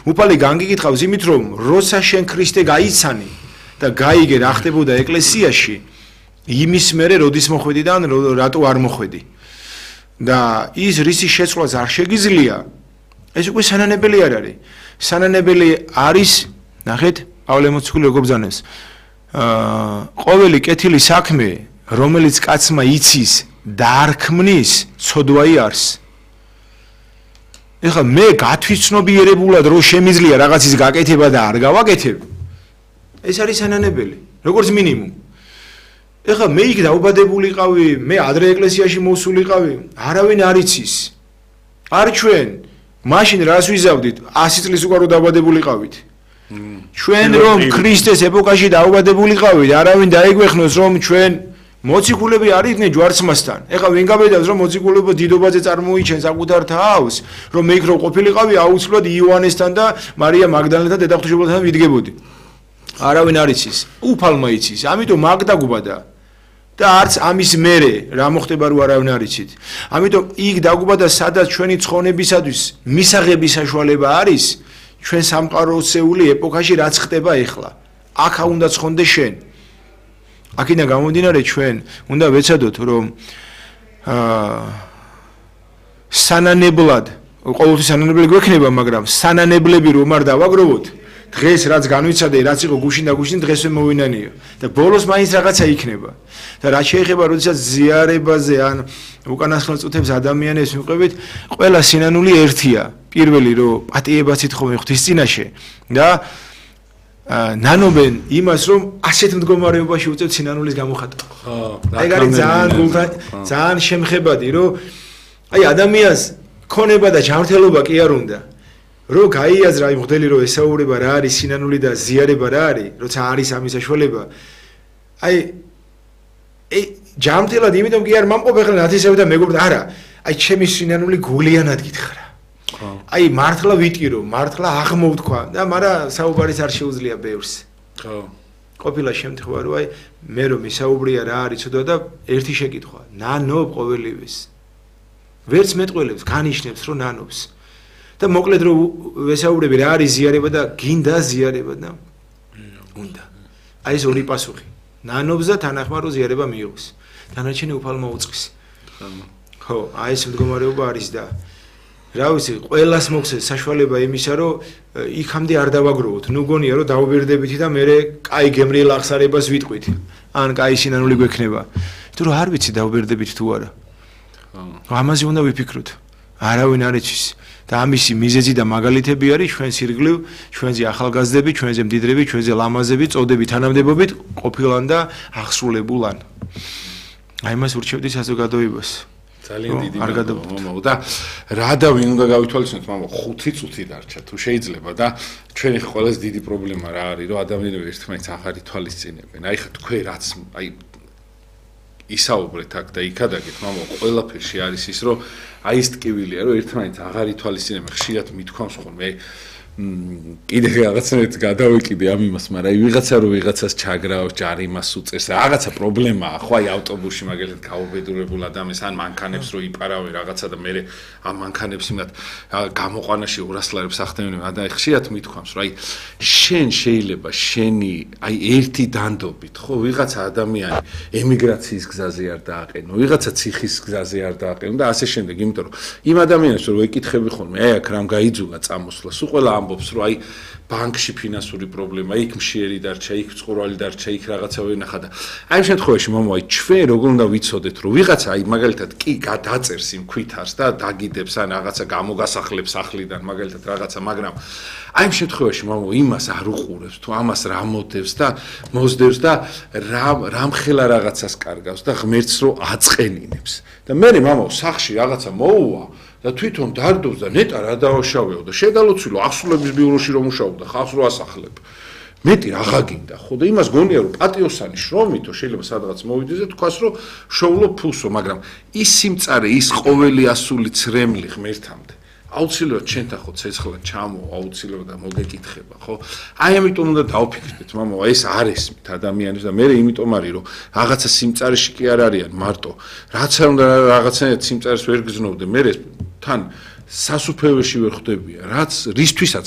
უფალი განგიკითხავს იმით, რომ როცა შენ ქრისტე გაიცანი და გაიგე რა ხდებოდა ეკლესიაში, იმის მერე როდის მოხვედი და რატო არ მოხვედი. და ის რისი შეცვლაც არ შეგიძლია, ეს უკვე სანანებელი არ არის. სანანებელი არის, ნახეთ, პავლე მოციქული როგორ ბრძანებს. ყოველი კეთილი საქმე, რომელიც კაცმა იცის და არ ქმნის, ცოდვაი არს. ეხლა მე გათვითცნობიერებულად რომ შემიძლია რაღაცის გაკეთება და არ გავაკეთებ, ეს არის სანანებელი, როგორც მინიმუმ. ეხლა მე იქ დაუბადებულიყავი, მე ადრე ეკლესიაში მოვსულიყავი, არავინ არ იცის. არ ჩვენ, მაშინ რას ვიზავდით? 100 წლის უკან რომ დაუბადებულიყავით. ჩვენ რომ ქრისტეს ეპოქაში დაუბადებულიყავით, არავინ დაიგვეხნოს რომ ჩვენ მოციქულები არ იყვნენ ჯვარცმასთან. ეხლა ვინ გაბედავს რომ მოციქულობა დიდობაზე წარმოიჩენს საკუთარ თავს, რომ მე იქ რო ყოფილიყავი, აუცილებლად იოანესთან და მარია მაგდალენთან დედაღვთისმშობელთან ვიდგებოდი. არავინ არ იცის, უფალმა იცის, ამიტომ მაგ დაგუბადა. და არც ამის მერე რა მოხდება რო არავინ არ იცით. ამიტომ იქ დაგუბადა, სადაც ჩვენი ცხონებისათვის მისაღების საშუალება არის, ჩვენ სამყაროსეული ეპოქაში რაც ხდება ეხლა. აქ უნდა ცხონდე შენ. აქედან გამომდინარე ჩვენ უნდა ვეცადოთ რომ სანანებლად, ყოველთვის სანანებლები გვექნება, მაგრამ სანანებლები რომ არ დავაგროვოთ, დღეს რაც განვიცადე, რაც იყო გუშინ და გუშინ დღესვე მოვინანიო და ბოლოს მაინც რაღაცა იქნება. და რაც შეეხება როდესაც ზიარებაზე ან უკანასკნელ წუთებს ადამიანებს მივყვებით, ყველა სინანული ერთია. პირველი რომ პატიებას ითხოვენ ღვთისწინაშე და ნანობენ იმას რომ ასეთ მდგომარეობაში უწევთ სინანულის გამოხატვა. აი არის ძალიან შემხებადი რომ აი ადამიანს ქონება და ჯანმრთელობა კი არ უნდა. რომ გაიაზრა იმ მღვდელი რომ ესაუბრება რა არის სინანული და ზიარება რა არის, როცა არის ამის საშუალება. აი ჯანმრთელად იმიტომ კი არ მომყოფ ახლა ნათესავი და მეგობრებთან, არა, აი ჩემი სინანული გულიანად გითხრა. აი მართლა ვიტკირო, მართლა აღმოვთქვა და მაგრამ საუბარის არ შეუძლია ბევრს. ხო. ყოფილა შემთხვევა რომ აი მე რომ ისაუბრია რა არის ცოტა და ერთი შეკითხვა, ნანობ ყოველივეს. ვერც მეტყველებს, განიშნებს რომ ნანობს. და მოკლედ რომ ვესაუბრები რა არის ზიარება და გინდა ზიარება და უნდა. აი ეს ორი პასუხი. ნანობს და თანახმად რომ ზიარება მიიღოს. დანარჩენი უფალმა უწყის. ხო, აი ეს მდგომარეობა არის და რა ვიცი, ყველას მოხდეს საშუალება იმისა, რომ იქამდე არ დავაგროვოთ. ნუ გონია რომ დაუბერდებითი და მე კაი გემრიელ აღსარებას ვიტყვით. ან კაი სინანული გვექნება. თუ რა არ ვიცი დაუბერდებით თუ არა. ამაზე უნდა ვიფიქროთ. არავინ არ იცის. და ამისი მიზეზი და მაგალითები არის ჩვენ სირგლივ, ჩვენზე ახალგაზრდები, ჩვენზე მდიდრები, ჩვენზე ლამაზები, წოდები თანამდებობით ყოფილან და აღსრულებულან. აი მას ურჩევდი საზოგადოებას. ძალიან დიდი მადლობა და რა და ვინ უნდა გავითვალისწინოთ, მამა 5 წუთი დარჩა თუ შეიძლება და ჩვენი ყველაზე დიდი პრობლემა რა არის, რომ ადამიანები ერთმანეთს აღარ ითვალისწინებენ. აი ხა თქვენ რაც აი ისაუბრეთ აქ და იქადაგეთ, მამა ყველაფერში არის ის, რომ აი ეს ტკივილია, რომ ერთმანეთს აღარ ითვალისწინებენ, ხშირად მithქვამს ხოლმე კიდე რაღაცნაირად გადავეკიდე ამ იმას, მაგრამ აი ვიღაცა რომ ვიღაცას ჩაგრავს, ჯარიმას უწევს, რაღაცა პრობლემაა, ხო აი ავტობუსში მაგალითად გაუბედურებულ ადამიანს ან მანქანებს რო იპარავენ რაღაცა და მე ამ მანქანებს იმათ გამოყვანაში 200 ლარებს ახდენენ და აი ხშირად მithქვამს, რომ აი შენ შეიძლება შენი აი ერთი დანდობით, ხო ვიღაცა ადამიანი ემიგრაციის გზაზე არ დააყენო, ვიღაცა ციხის გზაზე არ დააყენო და ასე შემდეგ, იმიტომ რომ იმ ადამიანებს რო ეკითხები ხოლმე, აი აქ რამ გაიძულა წამოსვლა, სულ ყველა ამბობს რომ აი ბანკში ფინანსური პრობლემა, იქ მშიერი დარჩა, იქ წყურვალი დარჩა, იქ რაღაცა ვენახა და აი ამ შემთხვევაში მამა აი ჩვენ როგორ უნდა ვიცოდეთ რომ ვიღაცა აი მაგალითად კი გადაწერს იმ ქვითარს და დაგიდებს ან რაღაცა გამოგასახლებს სახლიდან მაგალითად რაღაცა, მაგრამ აი ამ შემთხვევაში მამა იმას არ უყურებს თუ ამას რა მოდევს და მოსდევს და რამ ხელა რაღაცას კარგავს და ღმერთს რო აწყენინებს და მე მამა სახში რაღაცა მოუვა და თვითონ დარდობს და ნეტა რა დავაშავეო და შედალოცილო ახსულების ბიუროში რომ მუშაობდა ხალხს რო ასახლებ. მეტი რაღა გინდა ხო და იმას გონია რომ პატიოსანი შრომითო შეიძლება სადღაც მოვიდეს და თქვას რომ შოულო ფულსო, მაგრამ ის სიმწარე, ის ყოველი ასული ცრემლი ღმერთამდე აუცილებლად ჩვენთან ხო ცეცხლად ჩამო, აუცილებლად და მოგეკითხება, ხო? აი ამიტომ უნდა დავფიქრდეთ, მამა, ეს არ ესმით ადამიანებს და მე იმიტომ არის რომ რაღაცა სიმწარეში კი არ არიან მარტო. რაც არ უნდა რაღაცა სიმწარეს ვერ გზნობდე, მე თან სასუფეველში ვერ ხვდებიან, რაც რისთვისაც